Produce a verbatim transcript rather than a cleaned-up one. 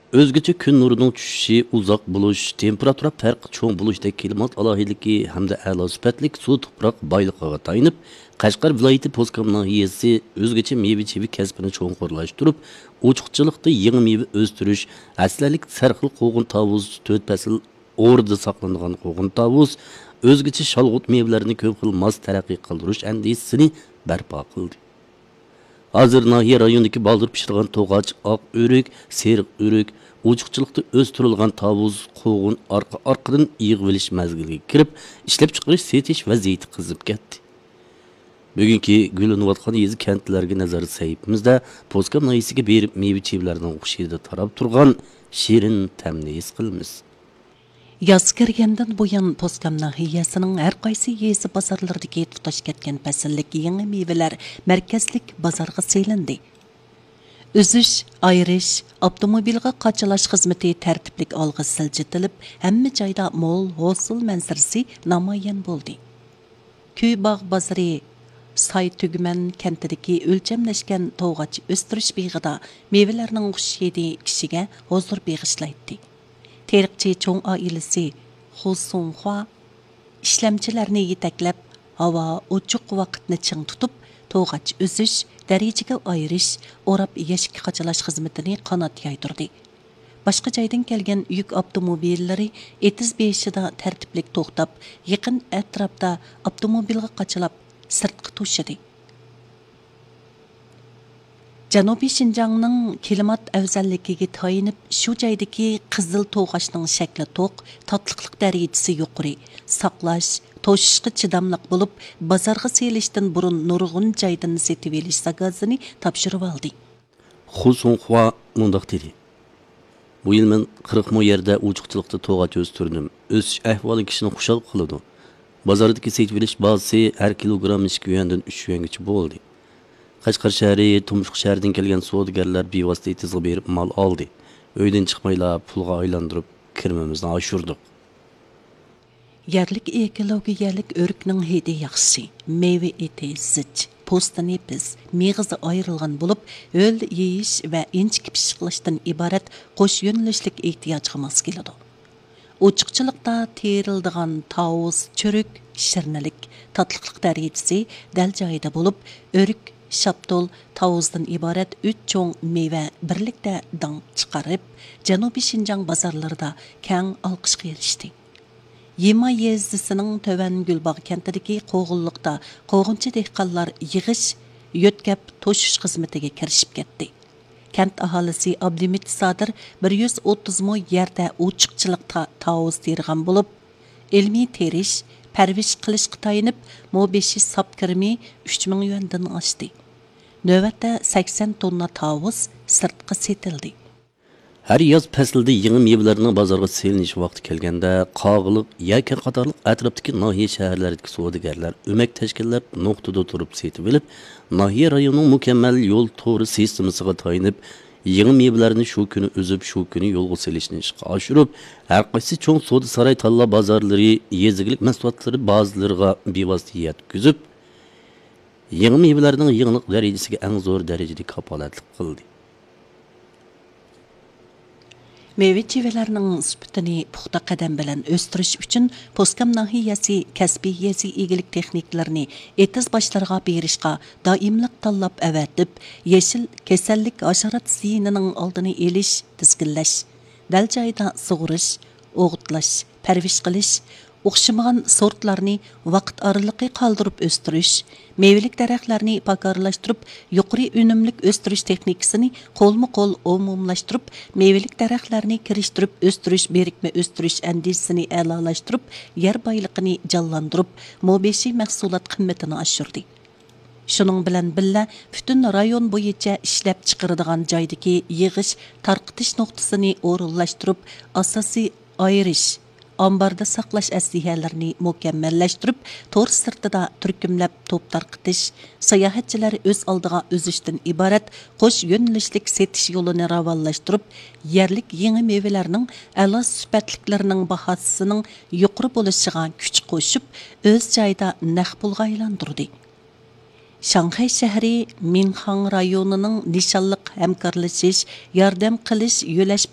ئۆزگىچە كۈن نۇرىنىڭ چۈشۈشى، ئۇزاق بولۇش، تېمپېراتۇرا پەرقى چوڭ بولۇشتەك كىلىمات ئالاھىدىلىكى ھەمدە ئەلا سۈپەتلىك سۇ توپراق بايلىقىغا تايىنىپ، قەشقەر ۋىلايىتى پوسكام ناھىيەسى ئۆزگىچە مېۋە چېۋە كەسپىنى چوڭقۇرلاشتۇرۇپ، ئوچۇقچىلىقتا يېڭى مېۋە ئۆستۈرۈش، ھەسسىلىك سەرخىل قوغۇن تاۋۇز تۆت پەسىل ئوردا ساقلىنىدىغان قوغۇن تاۋۇز، ئۆزگىچە شالغۇت مېۋىلەرنى كۆپ خىل ماس تەرەققىي قىلدۇرۇش ئەندىزىسىنى بەرپا قىلدى. ھازىر ناھىيە رايونىدىكى بالدۇر پىشىدىغان توغاچ، ئاق ئۆرۈك، سېرىق ئۆرۈك، ئوچۇقچىلىقتا ئۆستۈرۈلگەن تاۋۇز، قوغۇن ئارقا-ئارقىدىن يىغىۋېلىش مەزگىلىگە كىرىپ، ئىشلەپچىقىرىش، سېتىش ۋەزىيىتى قىزىپ كەتتى. بۈگۈنكى گۈللىنىۋاتقان يېزا، كەنتلەرگە نەزەر سەھىپىمىزدە پوسكام ناھىيەسىگە بېرىپ، مېۋە چېۋىلەرنىڭ خۇش ھىدى تاراپ تۇرغان شېرىن تەمنى ھېس قىلىمىز. ياز كىرگەندىن بۇيان، پوسكام ناھىيەسىنىڭ ھەر قايسى يېزا بازارلىرىدىكى تۇتاش كەتكەن پەسىللىك يېڭى مېۋىلەر مەركەزلىك بازارغا سېلىندى. ئۈزۈش، ئايرىش، ئاپتوموبىلغا قاچىلاش خىزمىتى تەرتىپلىك ئالغا سىلجىتىلىپ، ھەممە جايدا مول ھوسۇل مەنزىرىسى نامايان بولدى. كۈي باغ بازىرى ساي تۈگمەن كەنتىدىكى ئۆلچەملەشكەن توغاچ ئۆستۈرۈش بېغىدا مېۋىلەرنىڭ خۇش ھىدى كىشىگە ھۇزۇر بېغىشلايتتى. تېرىقچى چوڭ ئائىلىسى خۇ سۇڭخۇا ئىشلەمچىلەرنى يېتەكلەپ، ھاۋا ئوچۇق ۋاقىتنى چىڭ تۇتۇپ، توغاچ ئۈزۈش، دەرىجىگە ئايرىش، ئوراپ يەشىككە قاچىلاش خىزمىتىنى قانات يايدۇردى. باشقا جايدىن كەلگەن يۈك ئاپتوموبىللىرى ئېتىز بېشىدا تەرتىپلىك توختاپ، يېقىن ئەتراپتا ئاپتوموبىلغا قاچىلاپ، سىرتقا توشىدى. جەنۇبىي شىنجاڭنىڭ كىلىمات ئەۋزەللىكىگە تايىنىپ، شۇ جايدىكى قىزىل توغاچنىڭ شەكلى توق، تاتلىقلىق دەرىجىسى يۇقىرى، ساقلاش، توشۇشقا چىداملىق بولۇپ، بازارغا سېلىشتىن بۇرۇن نۇرغۇن جايدىن سېتىۋېلىش زاكازىنى تاپشۇرۇۋالدى. خۇ سۇڭخۇا مۇنداق دېدى: بۇ يىل مەن قىرىق مو يەردە ئوچۇقچىلىقتا توغاچ ئۆستۈردۈم. ئۆسۈش ئەھۋالى كىشىنى خۇشال قىلىدۇ. بازاردىكى سېتىۋېلىش باھاسى ھەر كىلوگرام ئىككى يۈەندىن ئۈچ يۈەنگىچە بولدى. قەشقەر شەھىرى، تۇمشۇق شەھىرىدىن كەلگەن سودىگەرلەر بىۋاسىتە ئېتىزغا بېرىپ مال ئالدى. ئۆيدىن چىقمايلا پۇلغا ئايلاندۇرۇپ، كىرىمىمىزنى ئاشۇردۇق. يەرلىك ئېكولوگىيەلىك ئۆرۈكنىڭ ھىدى ياخشى، مېۋە ئېتى زىچ، پوستى نېپىز، مېغىزى ئايرىلغان بولۇپ، ھۆل يېيىش ۋە ئىنچىكە پىششىقلاشتىن ئىبارەت قوش يۆنىلىشلىك ئېھتىياجغا ماس كېلىدۇ. ئوچۇقچىلىقتا تېرىلىدىغان تاۋۇز، چۆرۈك، شىرنىلىك، تاتلىقلىق دەرىجىسى دەل جايىدا بولۇپ، ئۆرۈك، شاپتۇل، تاۋۇزدىن ئىبارەت ئۈچ چوڭ مېۋە بىرلىكتە داڭ چىقىرىپ، جەنۇبىي شىنجاڭ بازارلىرىدا كەڭ ئالقىشقا ئېرىشتى. يىما يېزىسىنىڭ تۆۋەن گۈلباغ كەنتىدىكى قوغۇنلۇقتا قوغۇنچى دېھقانلار يىغىش، يۆتكەپ توشۇش خىزمىتىگە كىرىشىپ كەتتى. كەنت ئاھالىسى ئابلىمىت سادىر بىر يۈز ئوتتۇز مو يەردە ئوچۇقچىلىق تا-، تاۋۇز تېرىغان بولۇپ، ئىلمىي تېرىش، پەرۋىش قىلىشقا تايىنىپ، مو بېشى ساپ كىرىمى ئۈچ مىڭ يۈەندىن ئاشتى. نۆۋەتتە سەكسەن توننا تاۋۇز سىرتقا سېتىلدى. ھەر ياز پەسلىدە يېڭى مېۋىلەرنىڭ بازارغا سېلىنىش ۋاقتى كەلگەندە، قاغىلىق، يەكەن قاتارلىق ئەتراپتىكى ناھىيە، شەھەرلەردىكى سودىگەرلەر ئۆمەك تەشكىللەپ، نۇقتىدا تۇرۇپ سېتىۋېلىپ، ناھىيە رايونىنىڭ مۇكەممەل يول تورى سىستېمىسىغا تايىنىپ، يېڭى مېۋىلەرنى شۇ كۈنى ئۈزۈپ، شۇ كۈنى يولغا سېلىشنى ئىشقا ئاشۇرۇپ، ھەر قايسى چوڭ سودا ساراي، تاللا بازارلىرى، يېزا ئىگىلىك مەھسۇلاتلىرى بازىلىرىغا بىۋاسىتە يەتكۈزۈپ، يېڭى مېۋىلەرنىڭ يېڭىلىق دەرىجىسىگە ئەڭ زور دەرىجىدە كاپالەتلىك قىلدى. مېۋە-چېۋىلەرنىڭ سۈپىتىنى پۇختا قەدەم بىلەن ئۆستۈرۈش ئۈچۈن، پوسكام ناھىيەسى كەسپىي يېزا ئىگىلىك تېخنىكلىرىنى ئېتىز باشلىرىغا بېرىشقا دائىملىق تاللاپ ئەۋەتىپ، يېشىل كېسەللىك، ھاشارات زىيىنىنىڭ ئالدىنى ئېلىش، تىزگىنلەش، دەل جايىدا سۇغىرىش، ئوغۇتلاش، پەرۋىش قىلىش، ئوخشىمىغان سورتلارنى ۋاقىت ئارىلىقى قالدۇرۇپ ئۆستۈرۈش، مېۋىلىك دەرەخلەرنى پاكارلاشتۇرۇپ، يۇقىرى ئۈنۈملۈك ئۆستۈرۈش تېخنىكىسىنى قولمۇ قول ئومۇملاشتۇرۇپ، مېۋىلىك دەرەخلەرنى كىرىشتۈرۈپ ئۆستۈرۈش، بىرىكمە ئۆستۈرۈش ئەندىزىسىنى ئەلالاشتۇرۇپ، يەر بايلىقىنى جانلاندۇرۇپ، مو بېشى مەھسۇلات قىممىتىنى ئاشۇردى. شۇنىڭ بىلەن بىللە، پۈتۈن رايون بويىچە ئىشلەپچىقىرىدىغان جايدىكى يىغىش، تارقىتىش نۇقتىسىنى ئورۇنلاشتۇرۇپ، ئاساسىي ئايرىش، ئامباردا ساقلاش ئەسلىھەلىرىنى مۇكەممەللەشتۈرۈپ، تور سىرتىدا تۈركۈملەپ توپ تارقىتىش، ساياھەتچىلەر ئۆز ئالدىغا ئۈزۈشتىن ئىبارەت قوش يۆنىلىشلىك سېتىش يولىنى راۋانلاشتۇرۇپ، يەرلىك يېڭى مېۋىلەرنىڭ ئەلا سۈپەتلىكلىرىنىڭ باھاسىنىڭ يۇقىرى بولۇشىغا كۈچ قوشۇپ، ئۆز جايىدا نەق پۇلغا ئايلاندۇردى. شاڭخەي شەھىرى مىنخاڭ رايونىنىڭ نىشانلىق ھەمكارلىشىش، ياردەم قىلىش يۆلەش